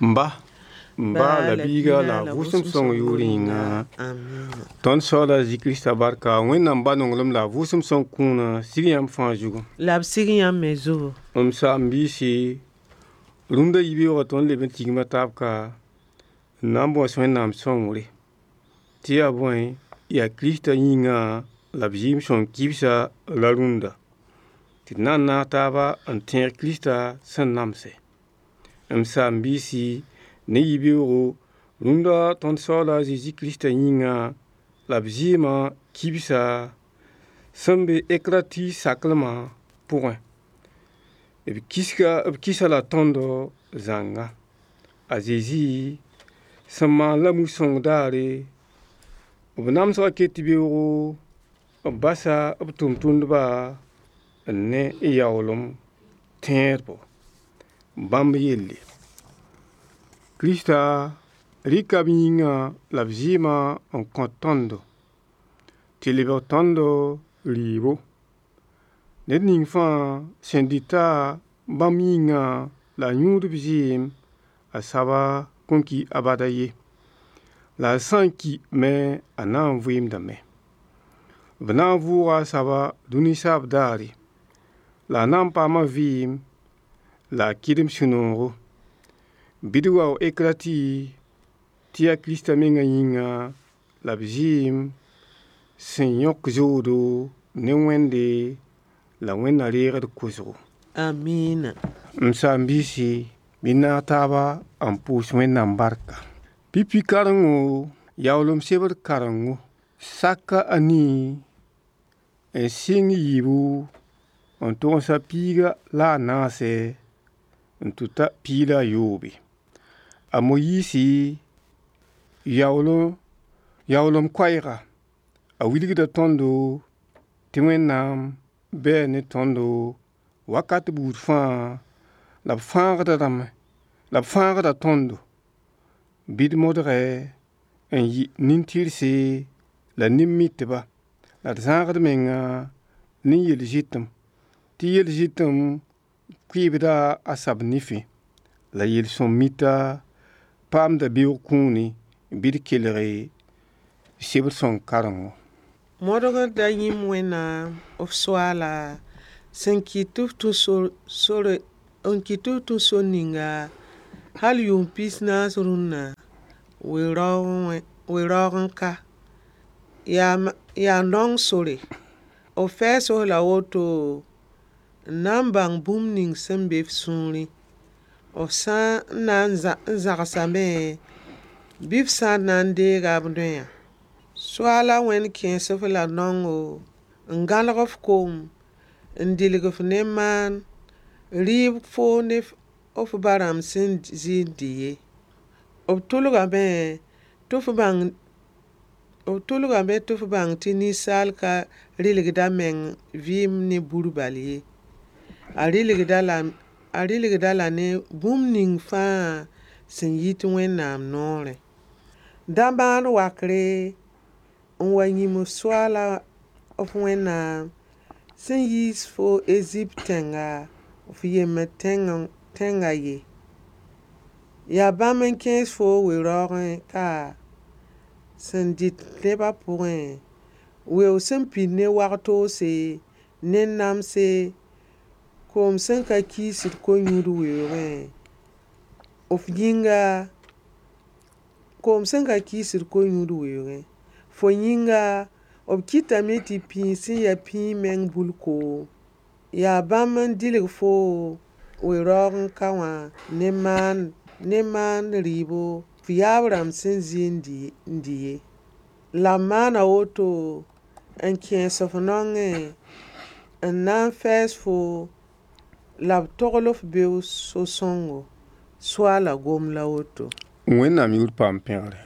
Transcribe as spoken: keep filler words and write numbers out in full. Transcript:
M ba m ba la biiga la vʋʋsem sõng yʋʋr yĩnga. Amina. Tõnd Soaala Zezi Krista barka, Wẽnnaam ba nonglem la a vʋʋsem sõng kũuna sig yãmb fãa zugu. La b sig yãmb me zugu. M saam-biisi, rũndã yibeoogã tõnd leb n tigma taab ka n na n bõs Wẽnnaam sõngre tɩ yaa bõe yaa Krista yĩngã la b zɩɩm sõng kibsa la rũndã tɩ d na n naag taaba n tẽeg Krista sẽn namse. M saam-biisi, ne yibeoogo, rũndã tõnd Soaala Zezi Krista yĩngã la b zɩɩmã kibsa sẽn be Ekrati saklmã pʋgẽ b kisga b kisa la tõndo zãnga. A Zezi sẽn maan la mu-sõng daare, b namsgã ket beoogo b basa b tʋm-tʋmdba n ne yaoolem tẽedbo bãmb yelle. Krista rɩka b yĩngã la b zɩɩmã n kõ tõndo tɩ lebg tõndo rɩɩbo. Ned ning fãa sẽn dɩta bãmb yĩngã la a yũud b zɩɩm, a saba kõn ki abada ye. La a sã n ki me a na n vɩɩmdame. B na n vʋʋga a saba dũni saab daare, la a na n paama vɩɩm la a kɩdem sũ-noogo. Bɩ d wao Ekrati tɩ yaa Krista mengã yĩnga la b zɩɩm sẽn yõk zoodo ne Wẽnde la Wẽnna reegd kosgo. Amina. M saam-biisi, bɩ naag taaba n pʋʋs Wẽnnaam barka. Pipi karengo, yaoolem sebr karengo, saka a nii n sɩng yiibu n tʋgsa piiga la a naase n tʋta piig la a yoobe. A Moyiisi yaoolem yaoolem koɛɛga a wilgda tõndo tɩ Wẽnnaam bɛɛ ne tõndo wakat buud fãa la b fãagda rãmb la b fãagda tõndo bɩ d modgɛ n yɩ nin-tɩrse la nin-mitba la d zãagd menga ne yel-zɩtem tɩ yel-zɩtem kʋɩɩbda a sab nifẽ la yel-sõm mita paamda beoog kũuni bɩ d kelg sebr sõng karengo. Modgd da yĩm Wẽnnaam f Soaala sẽn kɩt tɩ f tũ sore n kɩt tɩ f tũ sor ninga hal yʋʋm pis naas rũnnã we-raoog n ka. Yaa naong sore. B fɛɛs f la woto n na n bãng bũmb ning sẽn be f sũurẽ. F sã n na n zãgsame bɩ f sã n na n deega b noyã. Soaala Wẽnd kẽes f la naongo n gãneg f koom n dilg f ne maan rɩɩb foo ne f ba-rãmb sẽn zɩ n dɩ ye. B tʋlgame tɩ f bãng b tʋlgame tɩ f bãng tɩ ninsaal ka rɩlgda meng vɩɩm ne bur bal ye. A rɩlgda la a rɩlgda la ne bũmb ning fãa sẽn yit Wẽnnaam noorẽ. Da maan wakre n wa yĩm f Soaala f Wẽnnaam sẽn yiis fo Ezipt tẽnga f yembd tẽngã ye. Yaa bãmb n kẽes fo we-raoogẽ ka sẽn dɩt nebã pʋgẽ weoog sẽn pid ne wag-toose ne namse koom sẽn ka kiisd ko-yũud weoogẽ f yĩnga koom sẽn ka kiisd ko-yũud weoogẽ fo yĩnga b kɩtame tɩ pĩig sẽn yaa pĩig meng bul koom yaa bãmb n dilg foo we-raoog n ka wã ne maan ne maan rɩɩbo f yaab rãmb sẽn zɩ n dɩ ye. La b maana woto n kẽes f naongẽ n na n fɛɛs fo la b togl f beoog so-sõngo. Soaala gom la woto. Wẽnnaam yʋʋr paam pẽgre.